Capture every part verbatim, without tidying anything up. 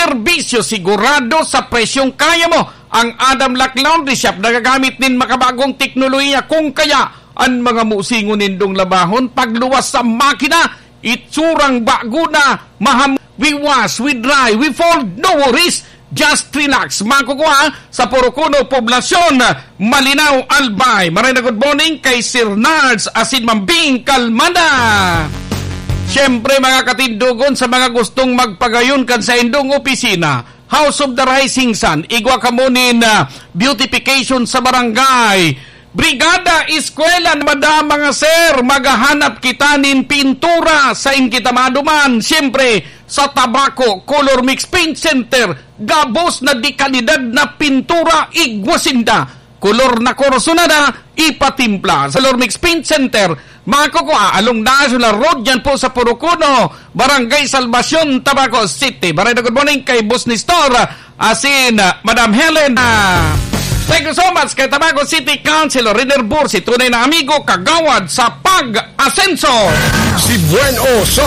serbisyo sigurado sa presyong kaya mo. Ang Adam Lac Laundry Shop nagagamit nin makabagong teknolohiya, kung kaya an mga musingon nindong labahon pagluwas sa makina, itsurang bago na, maham-, we wash, we dry, we fold, no worries. Just relax. Makukuha sa Porocono, Poblacion, Malinao, Albay. Maray na good morning kay Sir Nards asin Ma'am Bing Kalmada. Siyempre, mga katindogon, sa mga gustong magpagayon kan saindong opisina, House of the Rising Sun, igwa kamo nin, ah, beautification sa barangay. Brigada Eskwela, madam, mga sir, maghahanap kita nin pintura, sain kita maduman? Siyempre, sa Tabaco Color Mix Paint Center, gabos na de kalidad na pintura, igwa sinda. Kolor na kursunada, ipatimpla. Sa Color Mix Paint Center, makukua, along National Road, yan po sa Porocono, Barangay Salvacion, Tabaco City. Maray na good morning kay Boss Nestor, asin, ah, Madam Helen. Ah, thank you so much kay Tabaco City Councilor Riner Bursi, tunay na amigo, kagawad sa pag-asenso. Si Buen O sa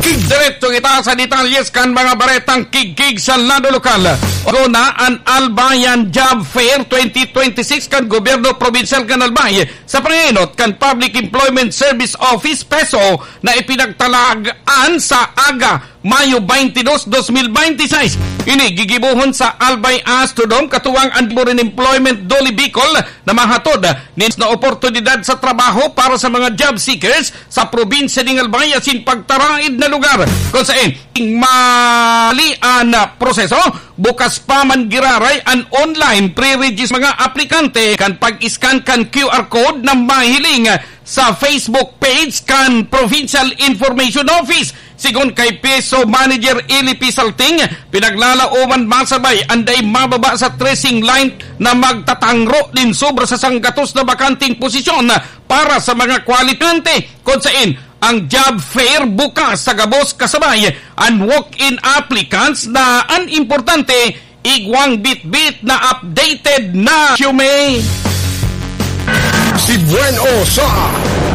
Kig. Diretso kita sa detalyes kan mga baretang kigkig sa lado lokal. Una, an Albayan Job Fair twenty twenty-six kan Gobyerno Probinsyal kan Albay sa pangenot kan Public Employment Service Office, PESO, na ipinagtalagan sa aga Mayo twenty-dos, dos mil bente y seis. Ini gigibohon sa Albay Astrodome, katuwang an Labor and Employment Dole Bicol, na mahatod nin na oportunidad sa trabaho para sa mga job seekers sa probinsya ning Albay asin pagtaraid na lugar. Kung sain, mali an proseso, bukas pa man giraray an online pre-regis mga aplikante kan pag-scan kan Q R code na mahiling sa Facebook page kan Provincial Information Office. Sigon kay PESO Manager Eli P. Salting, pinaglalaoman masabay an dai mababa sa tracing line na magtatangro nin sobra sa sanggatos na bakanteng posisyon para sa mga kwalipikante, kun sain ang job fair bukas sa gabos kasabay an walk-in applicants na an importante, igwang bitbit na updated na resume. Si Buen O sa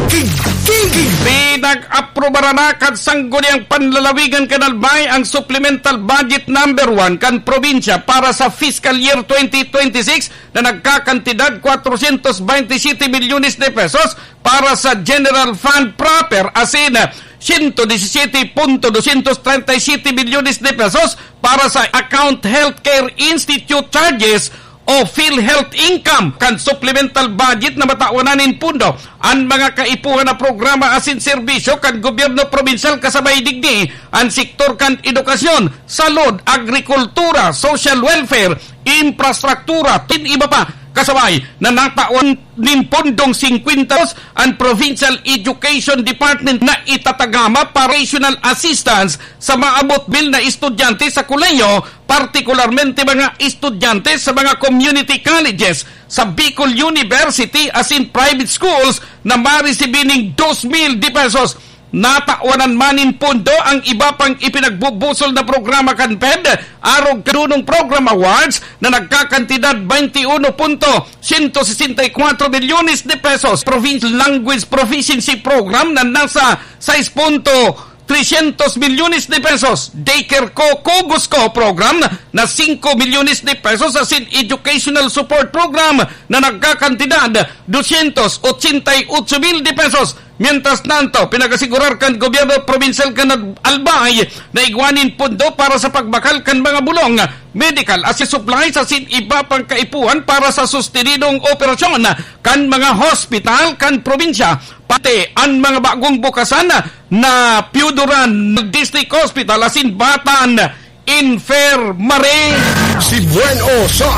Kig-, Kig-, Kig-. Pinag-aprobaran na kan Sangguniang Panlalawigan kan Albay ang Supplemental Budget Number One kan probinsya para sa fiscal year twenty twenty-six na nagkakantidad kwatrosyentos bente y siyete milyones de pesos para sa General Fund proper, asin siyento disisiyete punto dosyentos trenta y siyete milyones de pesos para sa Account Healthcare Institute Charges o PhilHealth Income. Kan supplemental budget na matawan na nin pondo an mga kaipuhan na programa asin serbisyo kan gobyerno probinsyal, kasabay digdi an sektor kan edukasyon, salud, agrikultura, social welfare, infrastruktura, tin iba pa. Kasabay na natawan nin pondong singkwenta an Provincial Education Department na itatagama para educational assistance sa maabot mil na estudyante sa kolehiyo, partikularmente mga estudyante sa mga community colleges sa Bicol University asin private schools na maresibi nin dos mil de pesos. Natawanan man nin pondo ang iba pang ipinagbubusol na programa kan PED, arog kan dunong program awards na nagkakantidad twenty-one punto siyento sesenta y kwatro milyones de pesos. Provincial Language Proficiency Program na nasa sais punto tresyentos milyones de pesos. Daycare Ko, Kugos Ko Program na singko milyones de pesos. Asin Educational Support Program na nagkakantidad dosyentos otsenta y otso mil de pesos. Mientras tanto, pinag-asigurar kan gobyerno probinsyal kan Albay na igwa nin pondo para sa pagbakal kan mga bulong, medical asin supplies asin iba pang kaipuhan para sa sustenidong operasyon kan mga hospital kan probinsya. Pati an mga bagong bukasan na Pioduran District Hospital asin Batan Infirmary. Si Buen O sa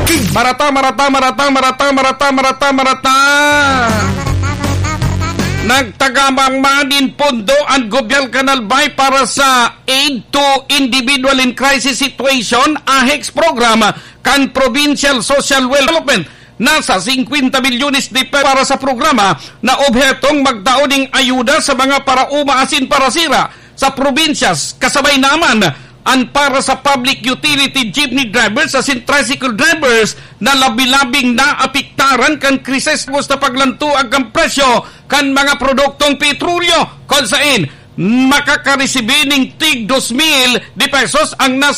Kig-. Marata, marata, marata, marata, marata, marata, marata. Nagtagama man nin pondo an gobyerno kan Albay para sa Aid to Individual in Crisis Situation, AHICS program, kan Provincial Social Welfare Development. Nasa singkwenta milyones de pesos para sa programa na obhetong magtao ning ayuda sa mga paraoma asin parasira sa probinsya, kasabay na man an para sa public utility jeepney drivers asin tricycle drivers na labi-labing naapektaran kan krisis sa paglantuag kan presyo kan mga produktong petrolyo, kun sain makakaresibi ning tig dos mil de pesos ang nasa